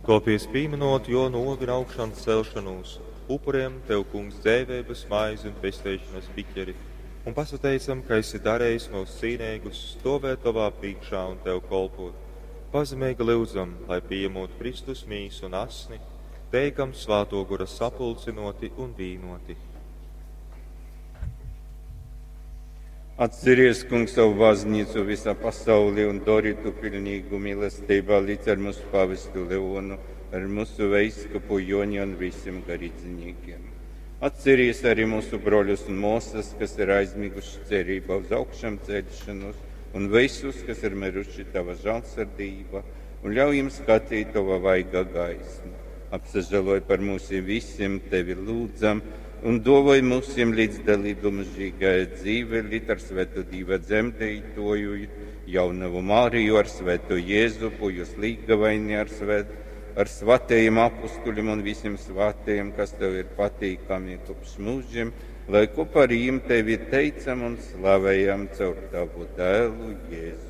Tōpēc, pīmynot jō nōvi un augšancelšonūs, upurējam tev, Kungs, dzeiveibas maizi un pesteišonas biķeri, un pasateicam, ka esi darejis myus cīneigus stōvēt tovā prīškā un tev kolpot. Pazemeigi lyudzam, lai pījemūt Kristus mīsu un asni, teikam Svātō Gora sapulcynōti un vīnōti. Atceries, Kungs, savu baznīcu visā pasaulē un dori tu pilnīgu mīlestībā līdz ar mūsu pavestu Leonu, ar mūsu veiskupu Joni un visiem garīdzniekiem. Atceries arī mūsu broļus un māsas, kas ir aizmiguši cerībā uz augšām celšanos, un visus, kas ir miruši tava žēlsirdība, un ļauj jums skatīt tava vaiga gaismu. Apsažēloj par mums visiem, tevi lūdzam, un dāvoj mums līdzdalību mūžīgajā dzīvē, līdz ar Svēto Dieva dzemdētoju, jaunavu Mariju, ar Svēto Jēzupu, jūs līgavaini ar, svēt, ar svatajiem apustuļiem un visiem svētajiem, kas tev ir patīkami kopš mūžiem, lai kopā ar jiem tevi teicam un slavējam caur tavu dēlu Jēzu.